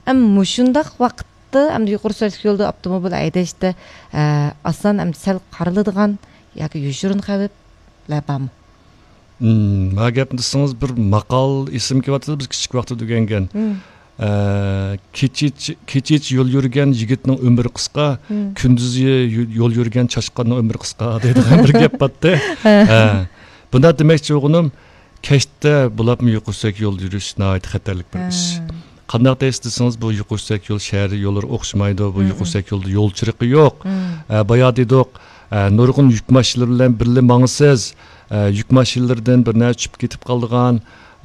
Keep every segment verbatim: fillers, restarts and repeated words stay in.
ئەمما مۇشۇنداق ۋاقىتتا ئەمدى يۇقىرى سۈرئەتلىك يولدا ئاپتوموبىل ھەيدەشتە، ئە، ئاسان ئەمدى سەل قارىلىدىغان ياكى يوشۇرۇن خەۋپلەر بارمۇ؟ مم، ما گەپنى دېسىڭىز، بىر ماقال ئېسىمگە كېلىۋاتىدۇ، بىز كىچىك ۋاقتىدا ئۆگەنگەن. مم. ئە، كېچىچە، كېچىچە يول يۈرگەن يىگىتنىڭ ئۆمرى قىسقا، مم. كۈندۈزى يو-، يول يۈرگەن چاشقاننىڭ ئۆمرى قىسقا دەيدىغان بىر گەپ بارتتى. ھە. ھە. بۇنداق دېمەكچى بولغىنىم، كەچتە بولۇپمۇ يۇقىرى سۈرئەتلىك يول يۈرۈش ناھايىتى خەتەرلىك بىر ئىش. ھە. قانداق دەيسىز دېسىڭىز، بۇ يۇقىرى سۈرئەتلىك يول شەھەر يوللىرى ئوخشىمايدۇ. بۇ مم. يۇقىرى سۈرئەتلىك يولدا يول چىرىقى يوق. مم. ئە، بايا دېدۇق، ئە، نۇرغۇن يۈك ماشىنىلىرى بىلەن بىللە ماڭىسىز. ئە، يۈك ماشىنىلىرىدىن بىر نەرسە چۈشۈپ كېتىپ قالىدىغان،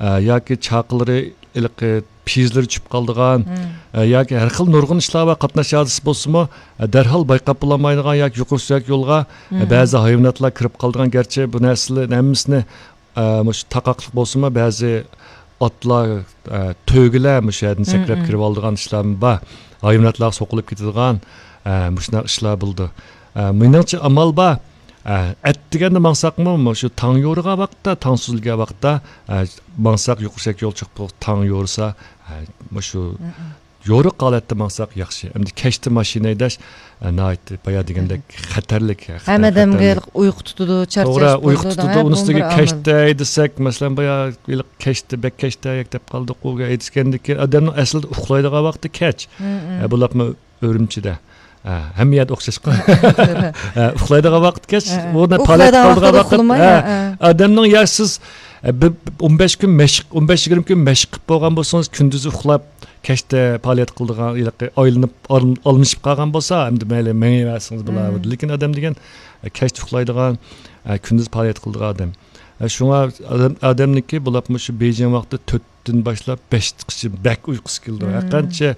ئە، ياكى چاقىلىرى، ھېلىقى پېيىزلىرى چۈشۈپ قالىدىغان، مم. ئە، ياكى ھەر خىل نۇرغۇن ئىشلار بار، قاتناش ھادىسىسى بولسىمۇ، ئە، دەرھال بايقاپ بولالمايدىغان ياكى يۇقىرى سۈرئەتلىك يولغا، ئە، مم. بەزى ھايۋاناتلار كىرىپ قالىدىغان، گەرچە بۇ نەرسىلەرنىڭ ھەممىسىنى ئە، مۇشۇ تاقاقلىق بولسىمۇ، بەزى ئاتلار، ئە، تۆگىلەر مۇشۇ يەردىن مم، سەكرەپ مم. كىرىۋالىدىغان ئىشلارمۇ بار. ھايۋاناتلارغا سوقۇلۇپ كېتىدىغان، ئە، مۇشۇنداق ئىشلار بولىدۇ. ئە، مېنىڭچە ئامال بار. ئە، ئەتىگەندە ماڭساقمۇ، مۇشۇ تاڭ يورۇغان ۋاقىتتا، تاڭ سۈزۈلگەن ۋاقىتتا، ئە، ماڭساق يۇقىرى سۈرئەتلىك يول چىقىپ تاڭ يورۇسا، ئە، مۇشۇ مم، مم. يورۇق ھالەتتە ماڭساق ياخشى. ئەمدى كەچتە ماشىنا ھەيدەش، ئە، ناھايىتى بايا دېگەندەك خەتەرلىك، خەتەر-، ھەممە ئادەمگە خەتەرلىك. ئۇيقۇ تۇتىدۇ، توغرا، چارچاش ئۇيقۇ بولىدۇ، تۇتىدۇ. ھە، ئۇنىڭ بۇمۇ ئۈستىگە بىر ئامىل. كەچتە ھەيدىسەك، مەسىلەن، بايا ھېلىقى كەچتە، بەك كەچتە ھەيدەپ قالدۇق، ئۇ ھەيدىگەندىن كېيىن ئادەمنىڭ ئەسلىدە ئۇخلايدىغان ۋاقتى كەچ. مم، مم. ئە، بۇلاپمۇ ئۈرۈمچىدە. ئە، ھەممە يەردە ئوخشاشقۇ. ئە، ئە، ئە. ئە، ئۇخلايدىغان ۋاقتى كەچ، ھە، ھە. ئۇ پائالىيەت ئۇخلايدىغان قىلىدىغان ۋاقتىدا ۋاقىت. ئۇخلىماي، ھە، ھە، ھە. ئادەمنىڭ يا سىز، ئە، بىر ئون بەش كۈن مەشىق، ئون بەش يىگىرمە كۈن مەشىق قىلىپ بولغان بولسىڭىز، كۈندۈزى ئۇخلاپ، كەچتە پائالىيەت قىلىدىغان، ھېلىقى ئايلىنىپ، ئال-، ئالمىشىپ قالغان بولسا، ئەمدى مەيلى مېڭىۋەرسىڭىز بولار. مم. لېكىن ئادەم دېگەن، ئە، كەچتە ئۇخلايدىغان، ئە، كۈندۈز پائالىيەت قىلىدىغان ئادەم. ئە، شۇڭا ئادەم، ئادەمنىڭكى بولۇپمۇ شۇ بېيجىڭ ۋاقتى تۆتتىن باشلاپ بەشتىقىچە بەك ئۇيقۇسى كېلىدۇ. مم. ھەرقانچە،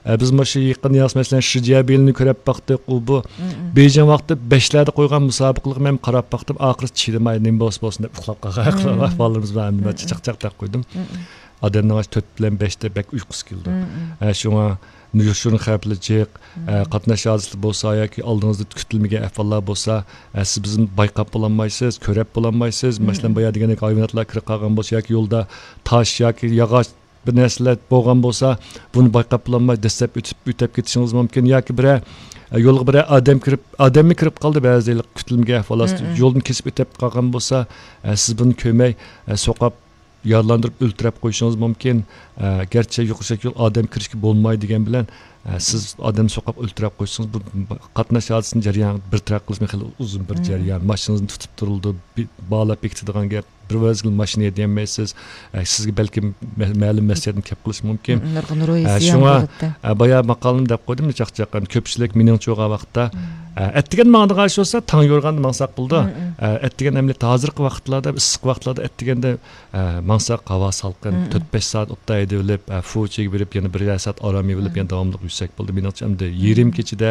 ئە، بىز مۇشۇ يېقىن ياز، مەسىلەن، شىجيابىننى كۆرۈپ باقتۇق. ئۇ بۇ مم، مم. بېيجىڭ ۋاقتى بەشلەردە قويغان مۇسابىقىلىقنى مەن قاراپ باقتىم. ئاخىرى چىدىماي، نېمە بولسا بولسۇن دەپ ئۇخلاپ قالغان مم. بالىلىرىمىز بار. ئەمدى مەن مم، مم. چاقچاق دەپ قويدۇم. مم، مم. ئادەمنىڭ ئاشۇ تۆت بىلەن بەشتە بەك ئۇيقۇسى كېلىدۇ. مم، مم. ئە، شۇڭا يوشۇرۇن خەۋپلىك جىق، ئە، مم. قاتناش ھادىسىسى بولسا ياكى ئالدىڭىزدا كۈتۈلمىگەن ئەھۋاللار بولسا، ئە، سىز بىزنى بايقاپ بولالمايسىز، كۆرەپ بولالمايسىز. مم، مەسىلەن، مم. بايا دېگەندەك ھايۋاناتلار كىرىپ قالغان بولسا ياكى يولدا تاش ياكى ياغاچ بىر نەرسىلەر بولغان بولسا، بۇنى بايقاپ بولالماي دەسسەپ ئۆتۈپ، ئۆتۈپ كېتىشىڭىز مۇمكىن. ياكى بىرەر، ئە، يولغا بىرەر ئادەم كىرىپ، ئادەممۇ كىرىپ قالدى بەزى كۈتۈلمىگەن ئەھۋاللار، مم، مم. يولدىن كېسىپ ئۆتۈپ قالغان بولسا، ئە، سىز بۇنى كۆرمەي، ئە، سوقاپ يارىلاندۇرۇپ ئۆلتۈرۈپ قويۇشىڭىز مۇمكىن. ئە، گەرچە يۇقىرى سۈرئەتلىك يول ئادەم كىرىشكە بولمايدۇ دېگەن بىلەن، ئە، سىز ئادەمنى سوقاپ ئۆلتۈرۈپ قويسىڭىز، بۇ قاتناش ھادىسىسىنى جەريان بىر تەرەپ قىلىشمۇ خېلى ئۇزۇن بىر مم. جەريان. ماشىنىڭىزنى تۇتۇپ تۇرۇلىدۇ، بى-، باغلاپ بېكىتىدىغان گەپ. بىر مەزگىل ماشىنا ھەيدىيەلمەيسىز. ئە، سىزگە بەلكىم مە-، مەلۇم مەسلىھەتنى كەپ قىلىشى مۇمكىن. مم، نۇرغۇن روھىي ئە، زىيان شۇڭا، بولۇپتۇ. ئە، بايا ماقالىمدا دەپ قويدۇم، چاقچاق. كۆپچىلىك مېنىڭچە بولغان ۋاقىتتا، مم. ئە، ئەتىگەن ماڭىدىغان ئىش بولسا، تاڭ يورغاندا ماڭساق بولىدۇ. مم، مم. ئە، ئەتىگەن ئەمەلىيەتتە ھازىرقى ۋاقىتلاردا، ئىسسىق ۋاقىتلاردا ئەتىگەندە ئە، ماڭساق ھاۋا سالقىن، مم. تۆت بەش سائەت ئوتتا ھەيدىۋېلىپ، ئە، فۇچىگە بېرىپ، يەنە بىر سائەت ئارام ئېلىپ، مم. يەنە داۋاملىق يۈرسەك بولدى. مېنىڭچە، ئەمدى مم. يېرىم كېچىدە،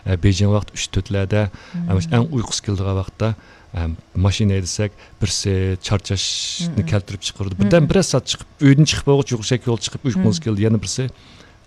ئە، بېيجىڭ ۋاقتى ئۈچ تۆتلەردە، مم. ئە، مۇشۇ ئەڭ ئۇيقۇسى كېلىدىغان ۋاقىتتا، ئە، ماشىنا ھەيدىسەك، بىرسى چارچاشنى مم. كەلتۈرۈپ چىقىرىدۇ. مم. بىردەم بىرەر سائەت چىقىپ، ئۆيدىن چىقىپ بولغۇچە يۈرسەك يول چىقىپ ئۇيقۇڭىز مم. كېلىدۇ. يەنە بىرسى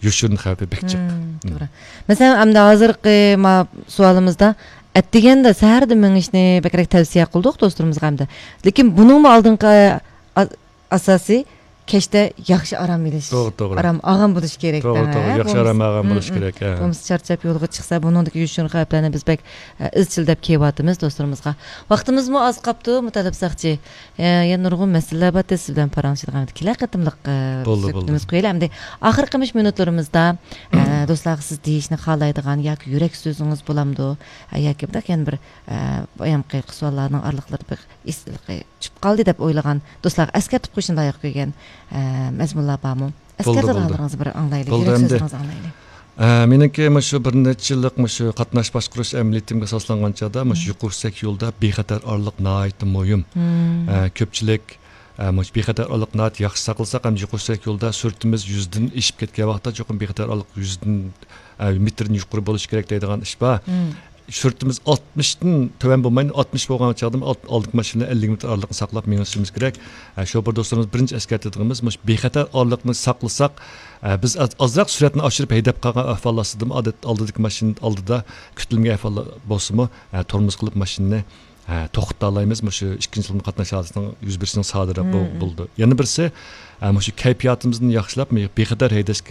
يوشۇرۇن خەۋپى بەك جىق. مم، مم. توغرا. مەسىلەن، ئەمدى ھازىرقى ما سوئالىمىزدا ئەتىگەندە سەھەردە مېڭىشنى بەكرەك تەۋسىيە قىلدۇق دوستلىرىمىزغا ئەمدى. لېكىن بۇنىڭمۇ ئالدىنقى، ئا-، ئاساسى كەچتە ياخشى ئارام ئېلىش. توغرا، توغرا. ئارام ئالغان بولۇش كېرەك توغرا، دەڭ، توغرا. ھە؟ ياخشى بولمىسا، ئارام ئالغان مم، بولۇش مم. كېرەك، ھە. بولمىسا چارچاپ يولغا چىقسا، بۇنىڭدىكى يوشۇرۇن خەۋپلەرنى بىز بەك، ئە، ئىزچىل دەپ كېلىۋاتىمىز دوستلىرىمىزغا. ۋاقتىمىزمۇ ئاز قاپتۇ، مۇتەللىپ ساقچى. ئە، يەنە نۇرغۇن مەسىلىلەر بار، سىز بىلەن پاراڭلىشىدىغان كېلەر قېتىملىق، ئە، بولدى، سۆھبىتىمىز بولدى. قويىلى. ئەمدى ئاخىرقى مۇشۇ مىنۇتلىرىمىزدا، ئە، دوستلارغا سىز دېيىشنى خالايدىغان ياكى يۈرەك سۆزىڭىز بولامدۇ؟ ئە، ياكى بۇنداق يەنە بىر، ئە، بايامقى سوئاللارنىڭ ئارىلىقلىرىدا بىر ئېسىللىقى چۈشۈپ قالدى دەپ ئويلىغان دوستلارغا ئەسكەرتىپ قويۇشنى لايىق كۆرگەن، ئە، مەزمۇنلار بارمۇ؟ بولدى، ئەسكەرتىدىغانلىرىڭىزنى بىر ئاڭلايلى، بولدى يۈرەك ئەمدى. سۆزلىرىڭىزنى ئاڭلايلى. ئە، مېنىڭكى مۇشۇ بىر نەچچە يىللىق مۇشۇ قاتناش باشقۇرۇش ئەمەلىيىتىمگە ئاساسلانغان چاغدا مۇشۇ مم. يۇقىرى سۈرئەتلىك يولدا بىخەتەر ئارىلىق ناھايىتى مۇھىم. مم. ئە، كۆپچىلىك، ئە، مۇشۇ بىخەتەر ئارىلىقنى ناھايىتى ياخشى ساقلىساق، ھەم يۇقىرى سۈرئەتلىك يولدا سۈرئىتىمىز يۈزدىن ئېشىپ كەتكەن ۋاقىتتا چوقۇم بىخەتەر ئارىلىق يۈزدىن، ئە، مېتىردىن يۇقىرى بولۇشى كېرەك دەيدىغان ئىش بار. مم. سۈرئىتىمىز ئاتمىشتىن تۆۋەن بولمايدۇ، ئاتمىش بولغان چاغدا ئالت-، ئالدىنقى ماشىنا بىلەن ئەللىك مېتىر ئارىلىقنى ساقلاپ مېڭىشىمىز كېرەك. ئە، شوپۇر دوستلىرىمىز بىرىنچى ئەسكەرتىدىغىنىمىز، مۇشۇ بىخەتەر ئارىلىقنى ساقلىساق، ئە، بىز ئاز-، ئازراق سۈرئەتنى ئاشۇرۇپ ھەيدەپ قالغان ئەھۋال ئاستىدىمۇ، ئادەت ئالدىدىكى ماشىنا ئالدىدا كۈتۈلمىگەن ئەھۋال بولسىمۇ، ئە، تورمۇز قىلىپ ماشىنىنى، ئە، توختىتالايمىز. مۇشۇ ئىككىنچى تۈرلۈك قاتناش ھادىسىسىنىڭ يۈز بېرىشىنىڭ سادىر بول-، مولدى. يەنە بىرسى، ئە، مۇشۇ كەيپىياتىمىزنى ياخشىلاپ، بىخەتەر ھەيدەشكە